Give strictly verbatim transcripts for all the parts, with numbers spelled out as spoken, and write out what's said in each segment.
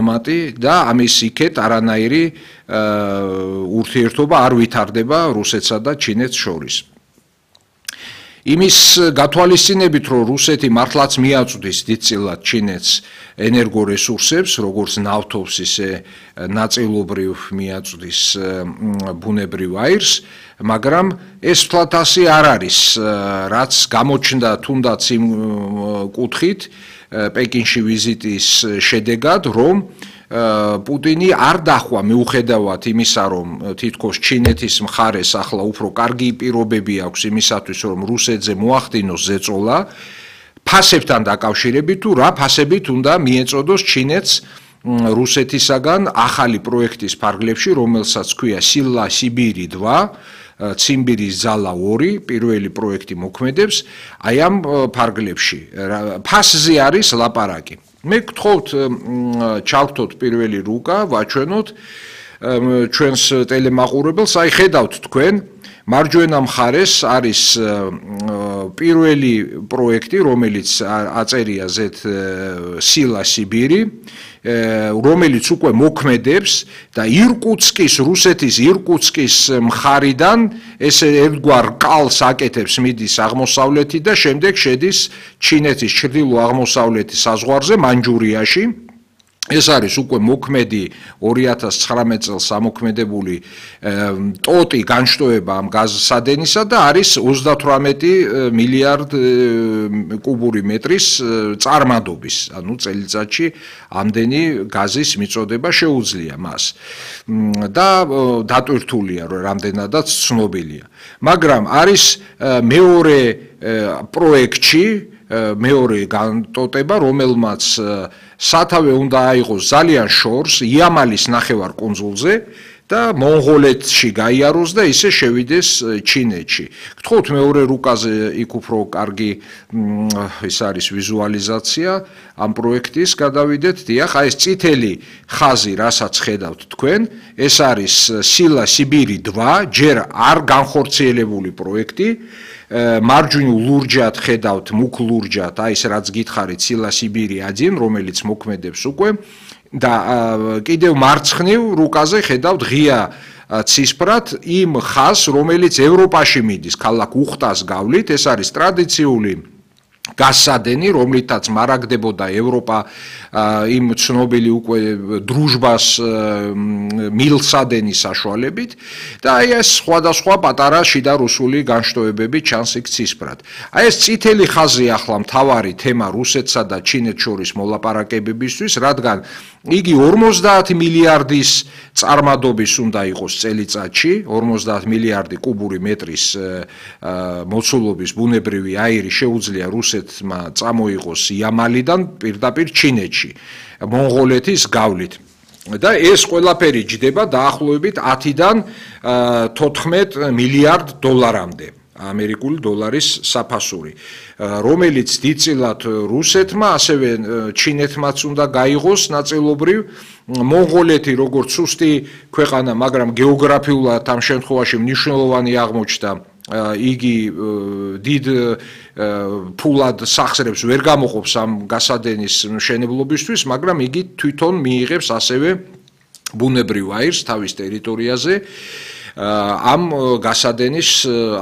და ამის იქეთ არანაირი ურთიერთობა არ ვითარდება რუსეთსა და ჩინეთს შორის. იმის გათვალისწინებით, რომ რუსეთი მართლაც მიაწვდის დიდწილად ჩინეთს ენერგორესურსებს, როგორც ნავთობს, ისე ნაწილობრივ მიაწვდის ბუნებრივ აირს, მაგრამ ეს თვლათ ასე არ არის, რაც გამოჩნდა თუნდაც იმ კუთხით პეკინში ვიზიტის შედეგად, რომ პუტინი არ დახვა მიუხედავად იმისა, რომ თითქოს ჩინეთის მხარეს ახლა უფრო კარგი პირობები აქვს იმისათვის, რომ რუსეთზე მოახდინოს ზეწოლა, ფასებთან დაკავშირებით თუ რა ფასებით უნდა მიეწოდოს ჩინეთს რუსეთისაგან ახალი პროექტის ფარგლებში, რომელსაც ქვია სილა სიბირი два, ციმბირის ძალა ორი, პირველი პროექტი მოქმედებს აი ამ ფარგლებში. ფასზე არის ლაპარაკი. მე გთხოვთ ჩავთოთ პირველი რუკა, ვაჩვენოთ ჩვენს ტელემაყურებელს, აი ხედავთ თქვენ, მარჯვენა მხარეს არის პირველი პროექტი, რომელიც აწერია ზეთ სილა სიბირი, რომელიც უკვე მოქმედებს და ირკუტსკის, რუსეთის ირკუტსკის მხარიდან ესე ერთგვარ კალს აკეთებს მიდის აღმოსავლეთით და შემდეგ შედის ჩინეთის ჩრდილო-აღმოსავლეთის საზღვარზე მანჯურიაში. ეს არის უკვე მოქმედი ორი ათას ცხრამეტ წელს ამოქმედებული ტოტი განშტოება ამ გაზსადენისა და არის ოცდათვრამეტი მილიარდ კუბური მეტრის წარმადობის, ანუ წელიწადში ამდენი გაზის მიწოდება შეუძლია მას. და დატვირთულია, რომ რამდენადაც ცნობილია. მაგრამ არის მეორე პროექტში მეორე განტოტება, რომელმაც სათავე უნდა აიღოს ძალიან შორს იამალის ნახევარკუნძულზე და მონღოლეთში გაიაროს და ისე შევიდეს ჩინეთში. გთხოვთ მეორე რუკაზე იქ უფრო კარგი ის არის ვიზუალიზაცია ამ პროექტის გადავიდეთ. დიახ, აი ეს წითელი ხაზი, რასაც ხედავთ თქვენ, ეს არის სილა სიბირი два, ჯერ არ განხორციელებული პროექტი. მარჯვნივ ლურჯად ხედავთ, მუქ ლურჯად, აი ეს რაც გითხარით, სილა სიბირი один, რომელიც მოქმედებს უკვე და კიდევ მარცხნივ რუკაზე ხედავთ ღია ცისფრად იმ ხაზს, რომელიც ევროპაში მიდის, ქალაქ უხტას გავლით, ეს არის ტრადიციული გაზსადენი, რომლითაც მარაგდებოდა ევროპა იმ ცნობილი უკვე დრუჟბას მილსადენის საშუალებით და აი ეს სხვადასხვა პატარა შიდა რუსული განშტოებები ჩანს იქ ცისფრად. აი ეს წითელი ხაზი ახლა მთავარი თემა რუსეთსა და ჩინეთს შორის მოლაპარაკებებისთვის, რადგან იგი ორმოცდაათი მილიარდის წარმადობის უნდა იყოს წელიწადში, ორმოცდაათი მილიარდი კუბური მეტრის მოცულობის ბუნებრივი აირი შეუძლია რუსეთმა წამოიღოს იამალიდან პირდაპირ ჩინეთში, მონღოლეთის გავლით. და ეს ყველაფერი ჯდება დაახლოებით ათიდან თოთხმეტ მილიარდ დოლარამდე. ამერიკული დოლარის საფასური, რომელიც დიდწილად რუსეთმა, ასევე ჩინეთმაც უნდა გაიღოს ნაწილობრივ. მონღოლეთი როგორც სუსტი ქვეყანა, მაგრამ გეოგრაფიულად ამ შემთხვევაში მნიშვნელოვანი აღმოჩნდა, იგი დიდ ფულად სახსრებს ვერ გამოყოფს ამ გასადენის მშენებლობისთვის, მაგრამ იგი თვითონ მიიღებს ასევე ბუნებრივ აირს თავის ტერიტორიაზე ამ გასადენის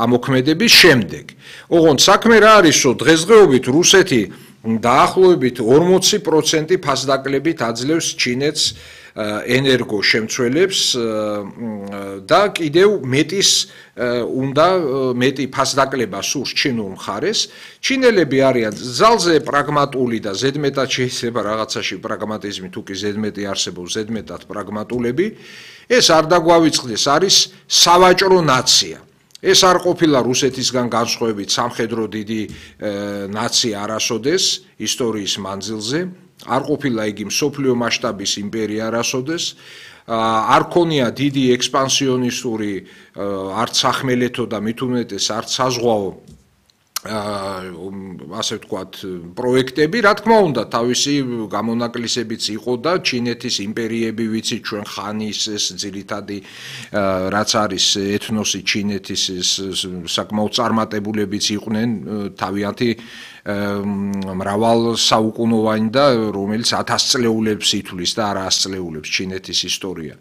ამოქმედების შემდეგ. ოღონდ საქმე რა არის, რომ დღესდღეობით რუსეთი დაახლოებით ორმოცი პროცენტი ფასდაკლებით აძლევს ჩინეთს ენერგო შემცველებს და კიდევ მეტის უნდა მეტი ფასდაკლება სურს ჩინურ მხარეს. ჩინელები არიან ძალზე პრაგმატული და ზედმეტად შეიძლება რაღაცაში პრაგმატიზმი თუ კი ზედმეტი არსებობს, ზედმეტად პრაგმატულები. ეს არ დაგვავიწყდეს, არის სავაჭრო ნაცია. ეს არ ყოფილა რუსეთისგან განსხვავებით სამხედრო დიდი ნაცია არასოდეს ისტორიის მანძილზე. არ ყოფილა იგი მსოფლიო მასშტაბის იმპერია არასოდეს, არ ქონია დიდი ექსპანსიონისტური არც სახმელეთო და მით უმეტეს არც საზღვაო ასე ვთქვათ პროექტები, რა თქმა უნდა, თავისი გამონაკლისებიც იყო და ჩინეთის იმპერიები ვიცით ჩვენ ხანის ეს ძირითადი რაც არის ეთნოსი ჩინეთის ეს საკმაოდ წარმატებულებიც იყვნენ თავიანთი მრავალ საუკუნოვანი და რომელიც ათასწლეულებს ითვლის და არა ასწლეულებს ჩინეთის ისტორია.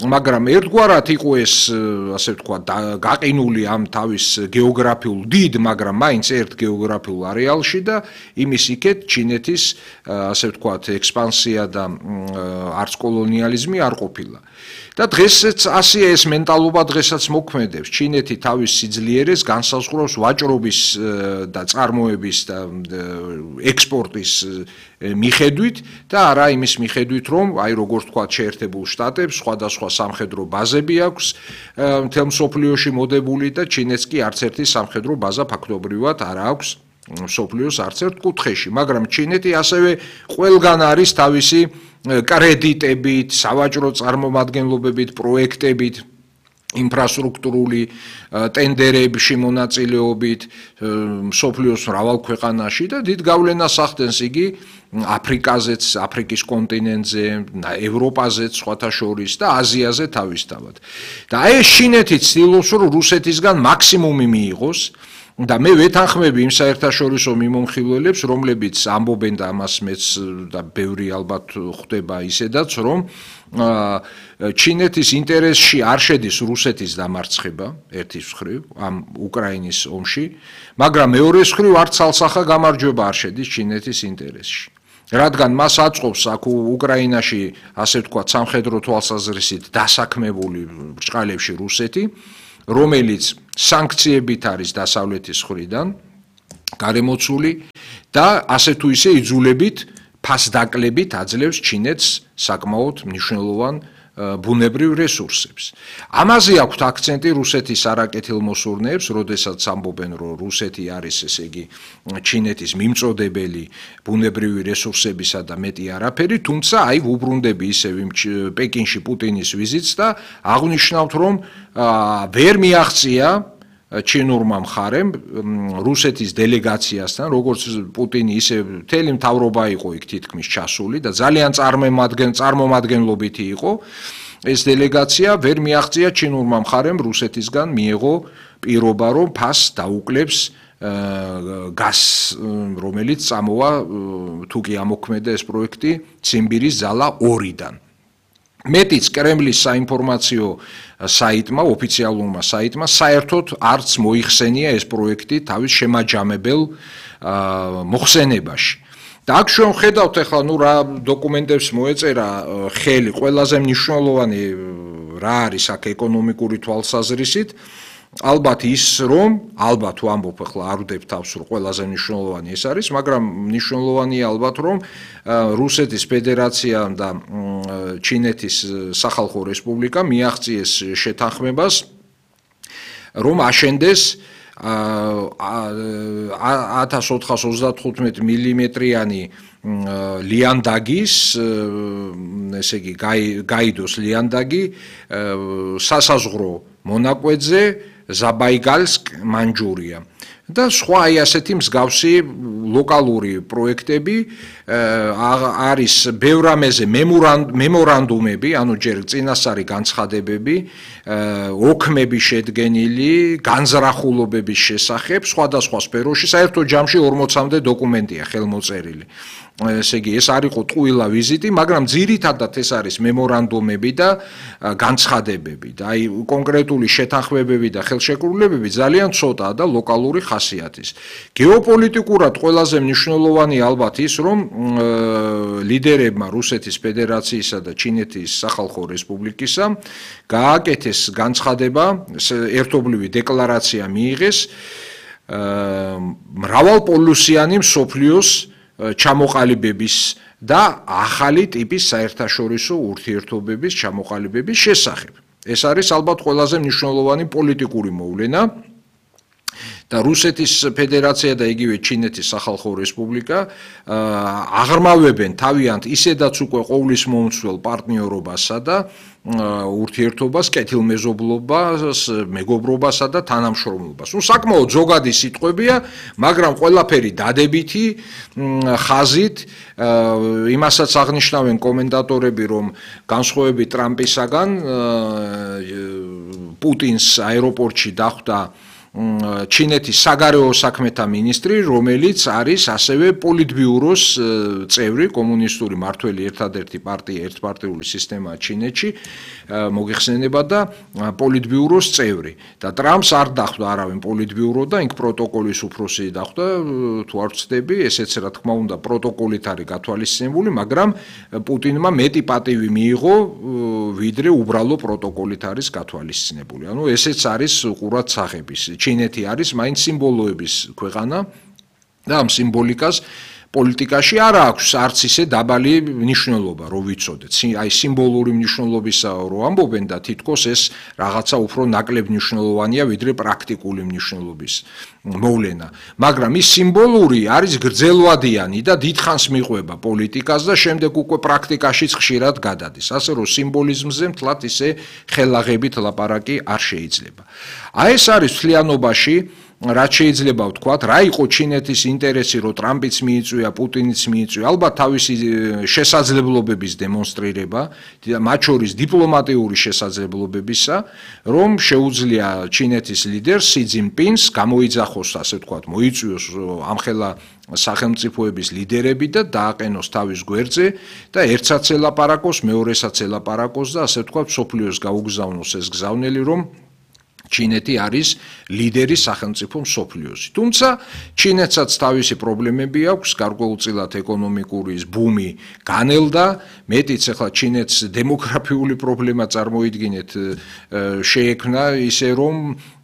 მაგრამ ერთგვარად იყო ეს, ასე ვთქვათ, გაყინული ამ თავის გეოგრაფიულ დიდ, მაგრამ მაინც ერთ გეოგრაფიულ არეალში და იმის იქეთ ჩინეთის, ასე ვთქვათ, ექსპანსია და არც კოლონიალიზმი არ ყოფილა. და დღესაც ასეა ეს მენტალობა დღესაც მოქმედებს. ჩინეთი თავის სიძლიერეს განსაზღვრავს ვაჭრობის და წარმოების და ექსპორტის მიხედვით და არა იმის მიხედვით, რომ აი როგორც თქვა შეერთებულ შტატებს სხვადასხვა სამხედრო ბაზები აქვს მთელ მსოფლიოში მოდებული და ჩინეთს კი არც ერთი სამხედრო ბაზა ფაქტობრივად არ აქვს მსოფლიოს არც ერთ კუთხეში, მაგრამ ჩინეთი ასევე ყველგან არის თავისი კრედიტებით, სავაჭრო წარმომადგენლობებით, პროექტებით, ინფრასტრუქტურული ტენდერებში მონაწილეობით მსოფლიოს მრავალ ქვეყანაში და დიდ გავლენას ახდენს იგი აფრიკაზეც, აფრიკის კონტინენტზე, ევროპაზეც სხვათა შორის და აზიაზე თავისთავად. და ეს ჩინეთი ცდილობს, რომ რუსეთისგან მაქსიმუმი მიიღოს და მე ვეთანხმები იმ საერთაშორისო მიმომხილველებს, რომლებიც ამბობენ და ამას მეც და ბევრი ალბათ ხვდება ისედაც, რომ ჩინეთის ინტერესში არ შედის რუსეთის დამარცხება ერთის მხრივ ამ უკრაინის ომში, მაგრამ მეორეს მხრივ არც ცალსახა გამარჯვება არ შედის ჩინეთის ინტერესში. რადგან მას აწყობს აქ უკრაინაში, ასე ვთქვათ, სამხედრო თვალსაზრისით დასაქმებული ბრჭყალებში რუსეთი, რომელიც სანქციებით არის დასავლეთის მხრიდან გარემოცული და ასე თუ ისე იძულებით ფასდაკლებით აძლევს ჩინეთს საკმაოდ მნიშვნელოვან ბუნებრივ რესურსებს. ამაზე აქვთ აქცენტი რუსეთის არაკეთილმოსურნეებს, როდესაც ამბობენ, რომ რუსეთი არის, ესე იგი, ჩინეთის მიმწოდებელი ბუნებრივი რესურსებისა და მეტი არაფერი, თუმცა აი ვუბრუნდები ისევ იმ პეკინში პუტინის ვიზიტს და აღნიშნავთ, რომ ვერ მიაღწია ჩინურმა მხარემ რუსეთის დელეგაციასთან, როგორც პუტინი ისე მთელი მთავრობა იყო იქ თითქმის ჩასული და ძალიან წარმომადგენლობითი იყო ეს დელეგაცია, ვერ მიაღწია ჩინურმა მხარემ რუსეთისგან მიეღო პირობა, რომ ფასს დაუკლებს გაზს, რომელიც წამოვა თუ კი ამოქმედა ეს პროექტი ციმბირის ზალა ორიდან. მეტიც კრემლის საინფორმაციო საიტმა, ოფიციალურმა საიტმა საერთოდ არც მოიხსენია ეს პროექტი თავის შემაჯამებელ მოხსენებაში. და აქ ჩვენ ხედავთ ახლა ნუ რა დოკუმენტებს მოეწერა ხელი, ყველაზე მნიშვნელოვანი რა არის აქ ეკონომიკური თვალსაზრისით, ალბათ ის რომ, ალბათ ვამბობ ახლა არ ვდებ თავს რომ ყველაზე მნიშვნელოვანი ეს არის, მაგრამ მნიშვნელოვანია ალბათ რომ რუსეთის ფედერაცია და ჩინეთის სახალხო რესპუბლიკა მიაღწიეს შეთანხმებას, რომ აშენდეს ათას ოთხას ოცდათხუთმეტ მილიმეტრიანი ლიანდაგის, ესე იგი გაიდოს ლიანდაგი სასაზღვრო მონაკვეთზე ზაბაიგალსკ, მანჯურია. და სხვა აი ასეთი მსგავსი ლოკალური პროექტები არის ბევრ რამეზე მემორანდუმები, ანუ ჯერ წინასწარი განცხადებები, ოქმები შედგენილი, განზრახულობების შესახებ სხვადასხვა სფეროში, საერთო ჯამში ორმოცამდე დოკუმენტია ხელმოწერილი. ესე იგი, ეს არ იყო ტყუილა ვიზიტი, მაგრამ ძირითადად ეს არის მემორანდუმები და განცხადებები და აი კონკრეტული შეთანხმებები და ხელშეკრულებები ძალიან ცოტაა და ლოკალური ხასიათის. გეოპოლიტიკურად ყველაზე მნიშვნელოვანი ალბათ ის, რომ ლიდერებმა რუსეთის ფედერაციისა და ჩინეთის სახალხო რესპუბლიკისა გააკეთეს განცხადება, ერთობლივი დეკლარაცია მიიღეს მრავალპოლუსიანი მსოფლიოს ჩამოყალიბების და ახალი ტიპის საერთაშორისო ურთიერთობების ჩამოყალიბების შესახებ. ეს არის ალბათ ყველაზე მნიშვნელოვანი პოლიტიკური მოვლენა და რუსეთის ფედერაცია და იგივე ჩინეთის სახალხო რესპუბლიკა აღრმავებენ თავიანთ ისედაც უკვე ყოვლის მომცველ პარტნიორობასა და ურთიერთობას, კეთილმეზობლობას, მეგობრობასა და თანამშრომლობას. ნუ საკმაოდ ზოგადი სიტყვებია, მაგრამ ყველაფერი დადებითი ხაზით, იმასაც აღნიშნავენ კომენტატორები, რომ განსხვავებით ტრამპისაგან პუტინს აეროპორტში დახვდა ჩინეთის საგარეო საქმეთა მინისტრი, რომელიც არის ასევე პოლიტბიუროს წევრი, კომუნისტური მართველი ერთადერთი პარტია, ერთპარტიული სისტემაა ჩინეთში, მოგეხსენება და პოლიტბიუროს წევრი. და ტრამპს არ დახვდა არავინ პოლიტბიურო და იქ პროტოკოლის უფროსი დახვდა, თუ არ ვცდები, ესეც რა თქმა უნდა პროტოკოლით არის გათვალისწინებული, მაგრამ პუტინმა მეტი პატივი მიიღო, ვიდრე უბრალო პროტოკოლით არის გათვალისწინებული. ანუ ესეც არის ყურად სახების. ჩინეთი არის მაინც სიმბოლოების ქვეყანა და ამ სიმბოლიკას პოლიტიკაში არ აქვს არც ისე დაბალი მნიშვნელობა, რო ვიცოდეთ. აი სიმბოლური მნიშვნელობისა რო ამბობენ და თითქოს ეს რაღაცა უფრო ნაკლებ მნიშვნელოვანია, ვიდრე პრაქტიკული მნიშვნელობის მოვლენა. მაგრამ ის სიმბოლური არის გრძელვადიანი და დიდხანს მიყვება პოლიტიკას და შემდეგ უკვე პრაქტიკაშიც ხშირად გადადის. ასე რომ სიმბოლიზმზე მთლად ისე ხელაღებით ლაპარაკი არ შეიძლება. აი ეს არის მთლიანობაში რაც შეიძლება ვთქვათ, რა იყო ჩინეთის ინტერესი, რომ ტრამპიც მიიწვია, პუტინიც მიიწვია, ალბათ თავისი შესაძლებლობების დემონსტრირება, მათ შორის დიპლომატიური შესაძლებლობებისა, რომ შეუძლია ჩინეთის ლიდერს სი ძინპინს გამოიძახოს, ასე ვთქვათ, მოიწვიოს ამხელა სახელმწიფოების ლიდერები და დააყენოს თავის გვერდზე და ერთსაც ელაპარაკოს, მეორესაც ელაპარაკოს და ასე ვთქვათ, მსოფლიოს გაუგზავნოს ეს გზავნელი, რომ ჩინეთი არის ლიდერი სახელმწიფო მსოფლიოში. თუმცა ჩინეთსაც თავისი პრობლემები აქვს, გარკვეულწილად ეკონომიკური ბუმი განელდა, მეტიც ახლა ჩინეთს დემოგრაფიული პრობლემა წარმოიდგინეთ შეექმნა ისე რომ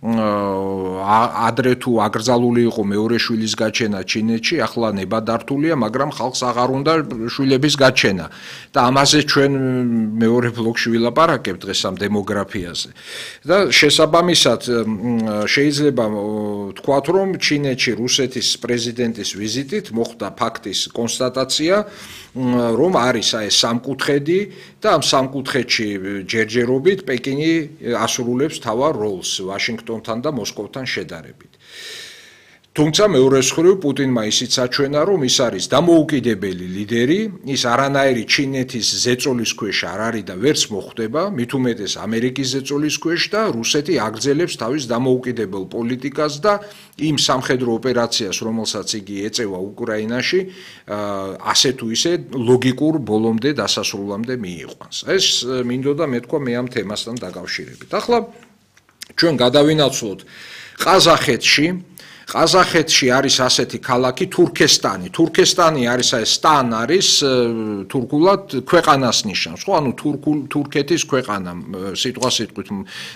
ადრე თუ აკრძალული იყო მეორე შვილის გაჩენა ჩინეთში, ახლა ნებადართულია, მაგრამ ხალხს აღარ უნდა შვილების გაჩენა. და ამაზე ჩვენ მეორე ბლოკში ვილაპარაკებთ დღეს ამ დემოგრაფიაზე. და შესაბამისად შეიძლება ვთქვათ, რომ ჩინეთში რუსეთის პრეზიდენტის ვიზიტით მოხდა ფაქტის კონსტატაცია, რომ არის აი სამკუთხედი და ამ სამკუთხედში ჯერჯერობით პეკინი ასრულებს თავარ როლს ვაშინგტონთან და მოსკოვთან შედარებით. თუმცა მეორე მხრივ პუტინმა ისიც აჩვენა, რომ ის არის დამოუკიდებელი ლიდერი, ის არანაირი ჩინეთის ზეწოლის ქვეშ არ არის და ვერც მოხვდება, მით უმეტეს ამერიკის ზეწოლის ქვეშ და რუსეთი აგრძელებს თავის დამოუკიდებელ პოლიტიკას და იმ სამხედრო ოპერაციას, რომელსაც იგი ეწევა უკრაინაში, ასე თუ ისე ლოგიკურ ბოლომდე დასასრულამდე მიიყვანს. ეს მინდოდა მეთქვა მე ამ თემასთან დაკავშირებით. ახლა ჩვენ გადავინაცვლოთ ყაზახეთში. ყაზახეთში არის ასეთი ქალაქი თურქესტანი. თურქესტანი არის აი სტან არის თურქულად ქვეყანას ნიშნავს, ხო? ანუ თურქულ თურქეთის ქვეყანა სიტყვა სიტყვით.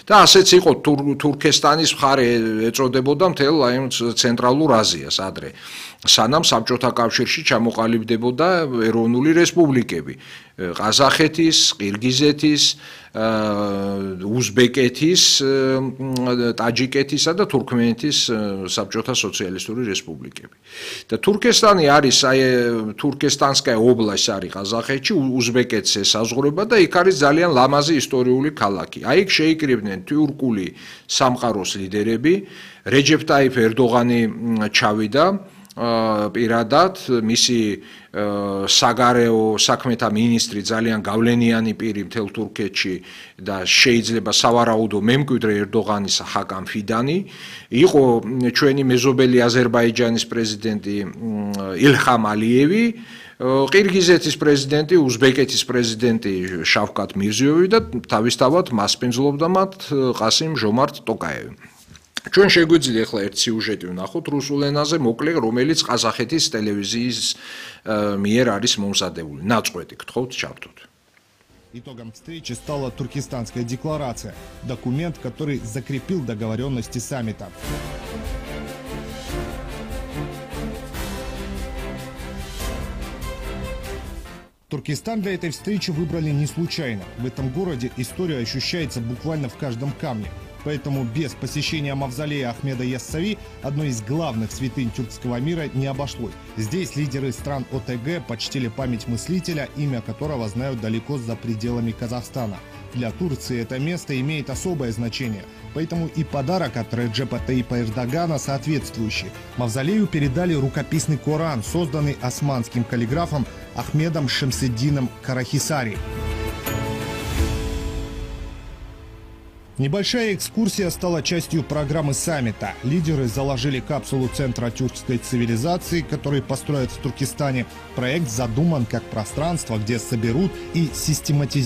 და ასეც იყო თურქესტანის მხარე ეწოდებოდა მთელ აი ცენტრალურ აზიას ადრე. სანამ საბჭოთა კავშირში ჩამოყალიბდებოდა ეროვნული რესპუბლიკები. ყაზახეთის, ყირგიზეთის, უზბეკეთის, ტაჯიკეთისა და თურქმენეთის საბჭოთა სოციალისტური რესპუბლიკები. და თურქესტანი არის აი თურქესტანსკაია ობლასტი არის ყაზახეთში, უზბეკეთს ესაზღვრება და იქ არის ძალიან ლამაზი ისტორიული ქალაქი. აი იქ შეიკრიბნენ თურქული სამყაროს ლიდერები, რეჯეფ ტაიფ ერდოღანი ჩავიდა პირადად, მისი საგარეო საქმეთა მინისტრი ძალიან გავლენიანი პირი მთელ თურქეთში და შეიძლება სავარაუდო მემკვიდრე ერდოღანის ჰაკამ ფიდანი, იყო ჩვენი მეზობელი აზერბაიჯანის პრეზიდენტი ილჰამ ალიევი, ყირგიზეთის პრეზიდენტი, უზბეკეთის პრეზიდენტი შავკატ მირზიევი და თავისთავად მასპინძლობდა მათ ყასიმ ჟომართ ტოკაევი. ჩვენ შეგვიძლია ახლა ერთ სიუჟეტი ვნახოთ რუსულ ენაზე, მოკლე, რომელიც ყაზახეთის ტელევიზიის მიერ არის მომზადებული. Ნაწყვეტი გთხოვთ, ჩავთოთ. Итогом встречи стала Туркестанская декларация, документ, который закрепил договоренности саммита. Туркестан для этой встречи выбрали не случайно. В этом городе история ощущается буквально в каждом камне. Поэтому без посещения мавзолея Ахмеда Яссави, одной из главных святынь тюркского мира, не обошлось. Здесь лидеры стран О Тэ Гэ почтили память мыслителя, имя которого знают далеко за пределами Казахстана. Для Турции это место имеет особое значение, поэтому и подарок от Реджепа Таипа Эрдогана соответствующий. Мавзолею передали рукописный Коран, созданный османским каллиграфом Ахмедом Шемсетдином Карахисари. Небольшая экскурсия стала частью программы саммита. Лидеры заложили капсулу Центра тюркской цивилизации, который построят в Туркестане. Проект задуман как пространство, где соберут и систематизируют